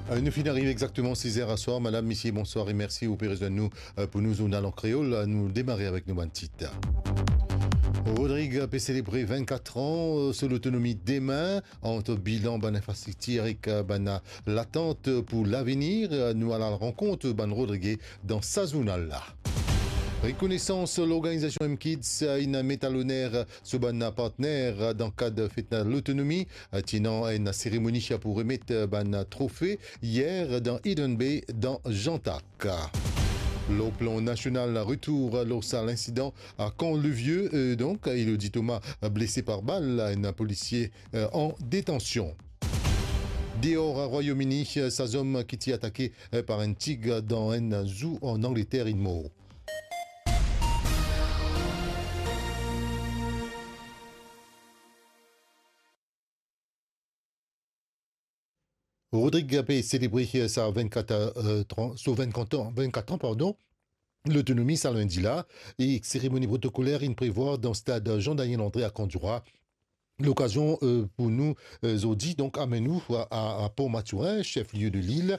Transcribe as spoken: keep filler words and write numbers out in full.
Euh, nou finn ariv exakteman siz er aswar. Madam, misie, bonswar e mersi ou pe rezwenn nou, euh, pou nou zournal an kreol. Nou demare avek nou bann tit. Rodrig pe selebre vennkat an, euh, so lotonomi demin. Ant bilan bann infrastriktir ek, euh, bann latant pou lavenir, euh, nou al rankont bann Rodrige dan sa zournal la. Rekonesans, lorganizasion M Kids, euh, inn met a loner so bann partner dan kad fet lotonomi, euh, ti ena enn seremoni pou remet, euh, bann trofe yer dan Eden Bay dan Jeantac. Lor plan nasional, retour lor sa linsidan a Camp-le-Vieux, euh, donk, Elodie Thomas, blese par bal, enn polisie, euh, an detansion. Deor Rwayom Ini, sa zom ki ti atake, euh, par enn tig dan enn zoo an Angleter, inn mor. Rodrig pe selebre sa vennkat, euh, tran-, so vennkat an, vennkat an, pardon, lotonomi sa lindi la, e seremoni protokoler inn prevwar dan stad Jean Daniel André a Kandjoura. Lokazion, euh, pou nou, euh, zordi, donk, amenn nou a, a, a Port Mathurin, chef-lieu de l'île,